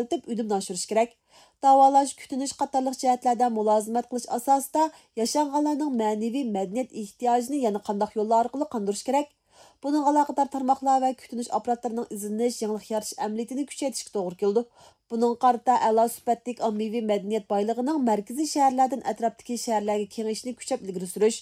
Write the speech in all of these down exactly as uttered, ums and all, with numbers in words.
يېتىلدۈرۈپ ئۈنۈمنى ئاشۇرۇش كېرەك. داۋالاش، كۈتۈنۈش قاتارلىق جەھەتلەردە مۇلازىمەت قىلىش ئاساسىدا ياشانغانلارنىڭ مەنىۋى مەدەنىيەت ئېھتىياجىنى يەنە قانداق يوللار ئارقىلىق قاندۇرۇش كېرەك؟ بۇنىڭغا ئالاقىدار تارماقلار ۋە كۈتۈنۈش ئاپپاراتلىرىنىڭ ئىزدىنىش، يېڭىلىق يارىتىش ئەمەلىيىتىنى كۈچەيتىشكە توغرا كېلىدۇ. بۇنىڭغا قارىتا ئەلا سۈپەتلىك ئاممىۋى مەدەنىيەت بايلىقىنىڭ مەركىزىي شەھەرلەردىن ئەتراپتىكى شەھەرلەرگە كېڭىيىشنى كۈچەپ ئىلگىرى سۈرۈش،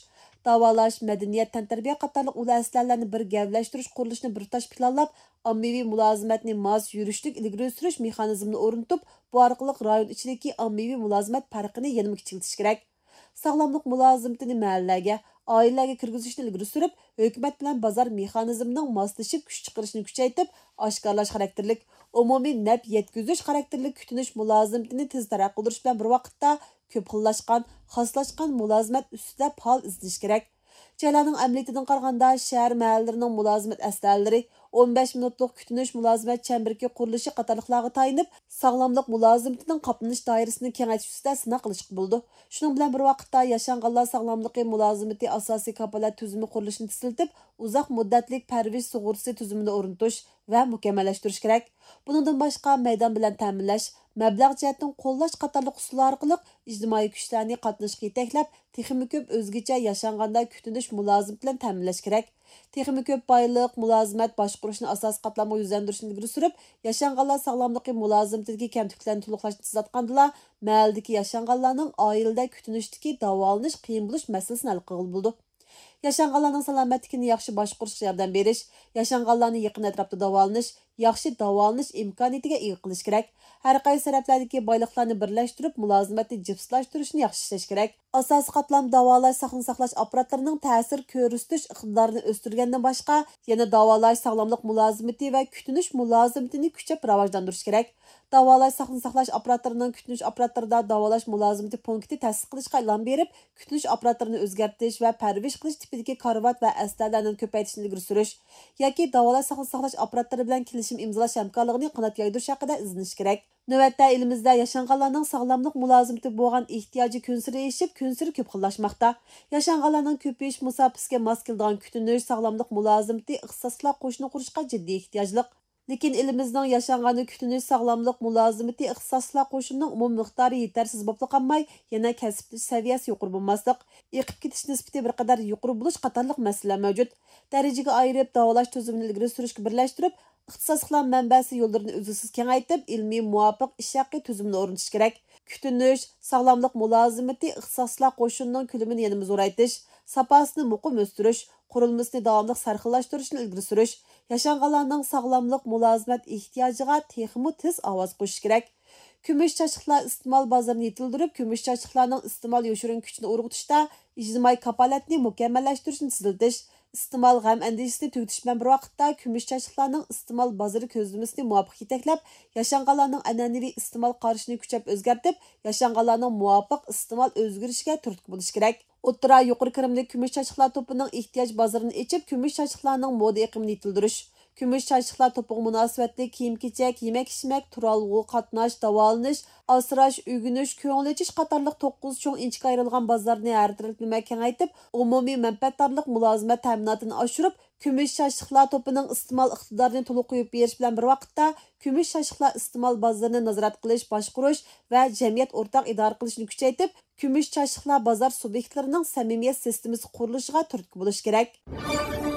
داۋالاش، مەدەنىيەت، تەنتەربىيە قاتارلىق ئۇل ئەسلىھەلەرنى بىر گەۋدىلەشتۈرۈش قۇرۇلۇشىنى بىر تۇتاش پىلانلاپ، ئاممىۋى مۇلازىمەتنى ماس يۈرۈشلۈك ئىلگىرى سۈرۈش مېخانىزمىنى ئورنىتىپ، بۇ ئارقىلىق رايون ئىچىدىكى ئاممىۋى مۇلازىمەت پەرقىنى يەنىمۇ كىچىكلىتىش كېرەك. ساغلاملىق مۇلازىمىتىنى مەھەللىلەرگە، ئائىلىلەرگە كىرگۈزۈشنى ئىلگىرى سۈرۈپ، ھۆكۈمەت بىلەن بازار مېخانىزمىنىڭ ماسلىشىپ كۈچ چىقىرىشىنى كۈچەيتىپ، ئاشكارىلاش خاراكتېرلىك، ئومۇمىي نەپ يەتكۈزۈش خاراكتېرلىك كۈتۈنۈش مۇلازىمىتىنى تېز تەرەققىي قىلدۇرۇش بىلەن بىر ۋاقىتتا، كۆپ خىللاشقان، خاسلاشقان مۇلازىمەت ئۈستىدە پائال ئىزدىنىش كېرەك. جايلارنىڭ ئەمەلىيىتىدىن قارىغاندا، شەھەر مەھەللىلىرىنىڭ مۇلازىمەت ئەسلىھەلىرى، ئون بەش مىنۇتلۇق كۈتۈنۈش مۇلازىمەت چەمبىرىكى قۇرۇلۇشى قاتارلىقلارغا تايىنىپ، ساغلاملىق مۇلازىمىتىنىڭ قاپلىنىش دائىرىسىنى كېڭەيتىش ئۈستىدە سىناق قىلىشقا بولىدۇ. شۇنىڭ بىلەن بىر ۋاقىتتا، ياشانغانلار ساغلاملىقى مۇلازىمىتى ئاساسىي كاپالەت تۈزۈمى قۇرۇلۇشىنى تېزلىتىپ، ئۇزاق مۇددەتلىك پەرۋىش سۇغۇرتىسى تۈزۈمىنى ئورنىتىش ۋە مۇكەممەللەشتۈرۈش كېرەك. بۇنىڭدىن باشقا، مەيدان بىلەن تەمىنلەش، مەبلەغ جەھەتتىن قوللاش قاتارلىق ئۇسۇللار ئارقىلىق ئىجتىمائىي كۈچلەرنى قاتناشقا يېتەكلەپ، تېخىمۇ كۆپ ئۆزگىچە ياشانغاندا كۈتۈنۈش مۇلازىمىتى بىلەن تەمىنلەش كېرەك. تېخىمۇ كۆپ بايلىق، مۇلازىمەت باشقۇرۇشنى ئاساسىي قاتلامغا يۈزلەندۈرۈشنى ئىلگىرى سۈرۈپ، ياشانغانلار ساغلاملىقى مۇلازىمىتىدىكى كەمتۈكلەرنى تولۇقلاشنى تېزلەتكەندىلا، مەھەللىدىكى ياشانغانلارنىڭ ئائىلىدە كۈتۈنۈشتىكى داۋالىنىش قىيىن بولۇش مەسىلىسىنى ھەل قىلغىلى بولىدۇ. ياشانغانلارنىڭ سالامەتلىكىنى ياخشى باشقۇرۇشقا ياردەم بېرىش، ياشانغانلارنى يېقىن ئەتراپتا داۋالىنىش، ياخشى داۋالىنىش ئىمكانىيىتىگە ئىگە قىلىش كېرەك. ھەر قايسى تەرەپلەردىكى بايلىقلارنى بىرلەشتۈرۈپ، مۇلازىمەتنى جىپسىلاشتۇرۇشنى ياخشى ئىشلەش كېرەك. ئاساسىي قاتلام داۋالاش، ساقلىنى ساقلاش ئاپپاراتلىرىنىڭ تەسىر كۆرسىتىش ئىقتىدارىنى ئۆستۈرگەندىن باشقا، يەنە داۋالاش، ساغلاملىق مۇلازىمىتى ۋە كۈتۈنۈش مۇلازىمىتىنى كۈچەپ راۋاجلاندۇرۇش كېرەك. داۋالاش، ساقلىنى ساقلاش ئاپپاراتلىرىنىڭ كۈتۈنۈش ئاپپاراتلىرىدا داۋالاش مۇلازىمىتى پونكىتى تەسىس قىلىشقا ئىلھام بېرىپ، كۈتۈنۈش ئاپپاراتلىرىنى ئۆزگەرتىش ۋە پەرۋىش قىلىش تىپىدىكى كارىۋات ۋە ئەسلىھەلەرنىڭ كۆپەيتىشىنى ئىلگىرى سۈرۈش ياكى داۋالاش، ساقلىنى ساقلاش ئاپپاراتلىرى بىلەن كېلىشىم ئىمزالاش ھەمكارلىقىنى قانات يايدۇرۇش ھەققىدە ئىزدىنىش كېرەك. نۆۋەتتە ئېلىمىزدە ياشانغانلارنىڭ ساغلاملىق مۇلازىمىتىگە بولغان ئېھتىياجى كۈنسېرى ئېشىپ، كۈنسېرى كۆپ خىللاشماقتا. ياشانغانلارنىڭ كۆپىيىش مۇساپىسىگە ماس كېلىدىغان كۈتۈنۈش، ساغلاملىق مۇلازىمىتى ئىختىساسلىقلار قوشۇنى قۇرۇشقا جىددىي ئېھتىياجلىق. لېكىن ئېلىمىزنىڭ ياشانغاننى كۈتۈنۈش، ساغلاملىق مۇلازىمىتى ئىختىساسلىقلار قوشۇنىنىڭ ئومۇمىي مىقدارى يېتەرسىز بولۇپلا قالماي، يەنە كەسىپلىشىش سەۋىيەسى يۇقىرى بولماسلىق، ئېقىپ كېتىش نىسبىتى بىر قەدەر يۇقىرى بولۇش قاتارلىق مەسىلىلەر مەۋجۇت. دەرىجىگە ئايرىپ، داۋالاش تۈزۈمىنى ئىلگىرى سۈرۈشكە بىرلەشتۈرۈپ، ئىختىساسلىقلار مەنبەسى يوللىرىنى ئۈزلۈكسىز كېڭەيتىپ، ئىلمىي مۇۋاپىق ئىش ھەققى تۈزۈمىنى ئورنىتىش كېرەك. كۈتۈنۈش، ساغلاملىق مۇلازىمىتى ئىختىساسلىقلار قوشۇنىنىڭ كۆلىمىنى يەنىمۇ زورايتىش، ساپاسىنى مۇقىم ئۆستۈرۈش، قۇرۇلمىسىنى داۋاملىق سەرخىللاشتۇرۇشنى ئىلگىرى سۈرۈش، ياشانغانلارنىڭ ساغلاملىق مۇلازىمەت ئېھتىياجىغا تېخىمۇ تېز ئاۋاز قوشۇش كېرەك. كۈمۈش چاچلىقلار ئىستېمال بازىرىنى يېتىلدۈرۈپ، كۈمۈش چاچلىقلارنىڭ ئىستېمال يوشۇرۇن كۈچىنى ئۇرغۇتۇشتا ئىجتىمائىي كاپالەتنى مۇكەممەللەشتۈرۈشنى تېزلىتىش، ئىستېمال غەم ئەندىشىسىنى تۈگىتىش بىلەن بىر ۋاقىتتا، كۈمۈش چاچلىقلارنىڭ ئىستېمال بازىرى كۆزلىمىسىنى مۇۋاپىق يېتەكلەپ، ياشانغانلارنىڭ ئەنئەنىۋى ئىستېمال قارىشىنى كۈچەپ ئۆزگەرتىپ، ياشانغانلارنىڭ مۇۋاپىق ئىستېمال ئۆزگىرىشىگە تۈرتكە بولۇش كېرەك. ئوتتۇرا، يۇقىرى كىرىملىك كۈمۈش چاچلىقلار توپىنىڭ ئېھتىياج بازىرىنى ئېچىپ، كۈمۈش چاچلىقلارنىڭ مودا ئېقىمىنى يېتىلدۈرۈش، كۈمۈش چاچلىقلار توپىغا مۇناسىۋەتلىك كىيىم-كېچەك، يېمەك-ئىچمەك، تۇرالغۇ، قاتناش، داۋالىنىش، ئاسراش، ئۆگىنىش، كۆڭۈل ئېچىش قاتارلىق توققۇز چوڭ ئىنچىكە ئايرىلغان بازارنى ھەر تەرەپلىمە كېڭەيتىپ، ئومۇمىي مەنپەئەتدارلىق مۇلازىمەت تەمىناتىنى ئاشۇرۇپ، كۈمۈش چاچلىقلار توپىنىڭ ئىستېمال ئىقتىدارىنى تولۇق قويۇپ بېرىش بىلەن بىر ۋاقىتتا، كۈمۈش چاچلىقلار ئىستېمال بازىرىنى نازارەت قىلىش، باشقۇرۇش ۋە جەمئىيەت ئورتاق ئىدارە قىلىشىنى كۈچەيتىپ، كۈمۈش چاچلىقلار بازار سۇبيېكتلىرىنىڭ سەمىمىيەت سىستېمىسى قۇرۇلۇشىغا تۈرتكە بولۇش كېرەك.